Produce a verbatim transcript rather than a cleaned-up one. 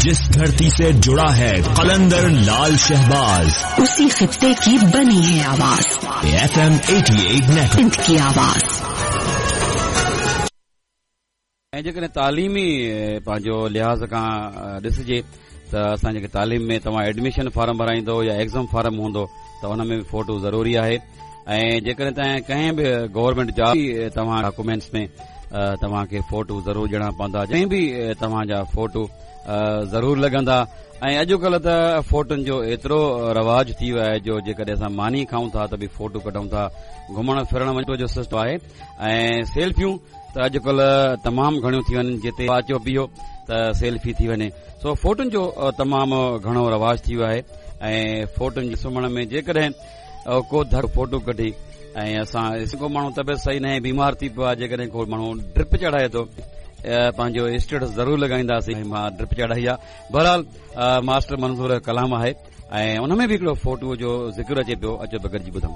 जिस धरती से जुड़ा है कलंदर लाल शहबाज, उसी खित्ते की बनी है आवाज। F M eighty eight network Sindh की आवाज। ऐं जेकॾहिं तालीमी पंहिंजो लिहाज़ खां ॾिसजे त असां जेके तालीम में तव्हां एडमिशन फॉर्म भराईंदो या एग्ज़ाम फॉर्म हूंदो त उन में बि फोटो ज़रूरी आहे। ऐं जेकॾहिं तव्हां कंहिं बि गवर्नमेंट जॉब तव्हां डॉक्यूमेंट्स में तव्हांखे फोटो ज़रूरु ॾियणा पवंदा, कंहिं बि तव्हांजा फोटो ज़रूरु लॻंदा। ऐं अॼुकल्ह त फोटुनि जो एतिरो रवाज थी वियो आहे जो जेकॾहिं असां मानी खाऊं था त बि फोटो कढूं था, घुमण फिरण वञण जो सिस्टम आहे। ऐं सेल्फियूं त अॼुकल्ह तमामु घणियूं थी वञनि, जिते अचो बीहो त सेल्फी थी वञे। सो फोटुनि जो तमामु घणो रवाज थी वियो आहे। ऐं फोटुनि जे सुम्हण में जेकॾहिं को धर फोटो कढी ऐं असां को माण्हू तबियत सही न आहे, बीमार थी पियो आहे, जेकॾहिं को माण्हू ड्रिप चढ़ाए थो, पंहिंजो स्टेटस ज़रूरु लॻाईंदासीं मां ड्रिप चढ़ाई आहे। बहरहाल मास्टर मंज़ूर कलाम आहे ऐं उन में बि हिकिड़ो फोटो जो ज़िक्र अचे पियो, अचो त गॾिजी ॿुधूं।